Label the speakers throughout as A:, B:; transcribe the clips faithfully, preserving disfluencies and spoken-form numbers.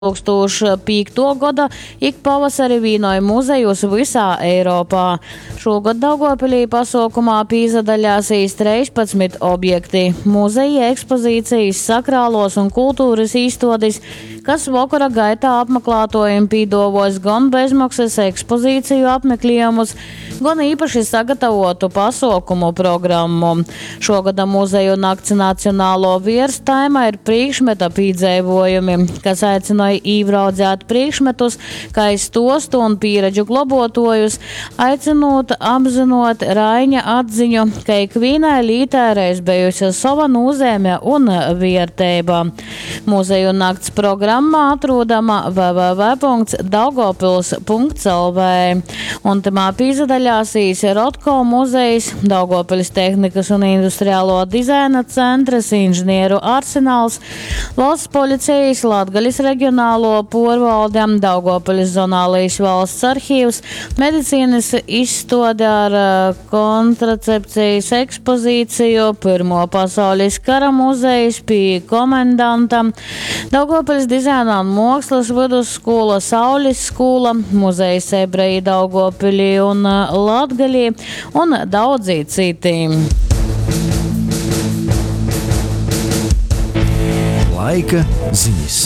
A: divtūkstūš pīktuo goda ik pavasari vīnoj muzejus vysā Eiropā. Šūgod Daugavpilī pasuokumā pīsadaļāsīs treispadsmit objekti – muzeji, ekspozīcijas, sakrāluos un kulturys īstuodis, kas vokora gaitā apmaklātuojim pīduovuos gon bezmoksys ekspozīciju apmekliejumus, gon īpaši sagatavotu pasuokumu programmu. Šuogoda Muzeju nakts nacionālo vierstaima ir prīkšmeta pīdzeivuojumi, kas aicynoj īvraudzēt prīkšmetus kai stuostu un pīredžu globuotuojus, aicynūt apzynuot Raiņa atziņu, ka ikvīnai lītai reiz bejuse sova nūzeime un vierteiba. Muzeju nakts programma atrūdama w w w punkts daugavpils punkts l v, un tamā pīsadaļāsīs Rotko muzejs, Daugavpils tehnikas un industriālo dizaina centrs, inženieru arsenāls, Valsts policijas Latgales reģionālo porvalde, Daugavpils zonālais valsts arhīvs, medicīnas izstuode ar, eh, kontracepcijas ekspozīciju, Pirmo pasaules kara muzejs pie komendanta, Daugavpils dizaina un mākslas vidusskola, Saules skola, muzejs ebreji Daugavpilī un, eh, Latgalī un daudzi citi.
B: Laika ziņas.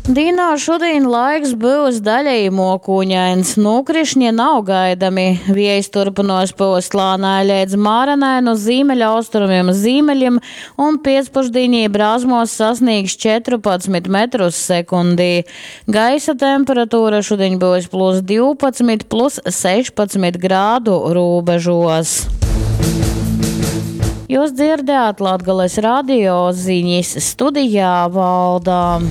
A: Dīnā šodien laiks būs daļēji mokūņains, nokrišņi nav gaidami. Viejs turpinos pūst lānai līdz mārenai no ziemeļaustrumiem ziemeļiem un piecpušdienī brāzmos sasniegs četrpadsmit metrus sekundī. Gaisa temperatūra šodien būs plus divpadsmit, plus sešpadsmit grādu robežos. Jūs dzirdējāt Latgales radio ziņas studijā Valdā.